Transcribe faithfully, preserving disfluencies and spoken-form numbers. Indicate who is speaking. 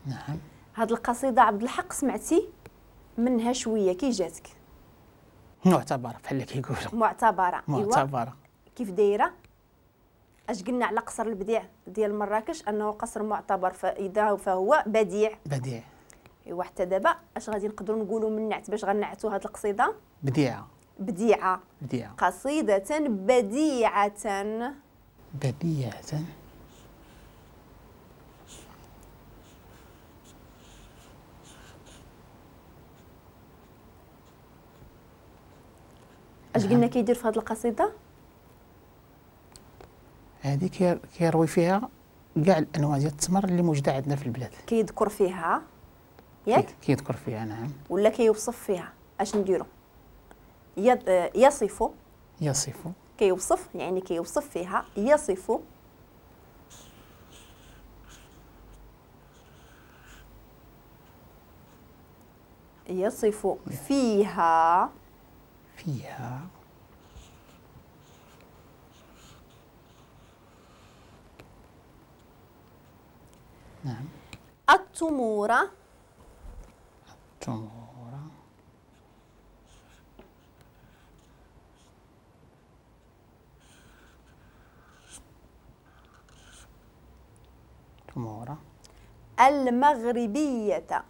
Speaker 1: نعم.
Speaker 2: هاد القصيدة عبد الحق سمعتي منها شوية، كي جاتك؟
Speaker 1: معتبره بحال اللي كيقولوا.
Speaker 2: معتبره.
Speaker 1: معتبره.
Speaker 2: كيف دايرة؟ اش قلنا على قصر البديع ديال مراكش؟ انه قصر معتبر، فاذا فهو بديع.
Speaker 1: بديع.
Speaker 2: ايوا حتى دابا اش غادي نقدروا نقولوا من نعت باش غنعتوا هاد القصيدة؟
Speaker 1: بديعه.
Speaker 2: بديعه.
Speaker 1: بديعه.
Speaker 2: قصيدة بديعه.
Speaker 1: بديعه.
Speaker 2: اش قلنا كيدير في هذه القصيدة؟
Speaker 1: هذه كيروي فيها كاع الانواع ديال التمر اللي موجودة عندنا في البلاد.
Speaker 2: كيذكر فيها ياك؟
Speaker 1: كيذكر فيها نعم.
Speaker 2: ولا كيوصف فيها؟ اش نديرو؟ يصف.
Speaker 1: يصف.
Speaker 2: كيوصف يعني كيوصف فيها، يصف يصف فيها
Speaker 1: فيها نعم
Speaker 2: التمور.
Speaker 1: التمور تمور
Speaker 2: المغربية.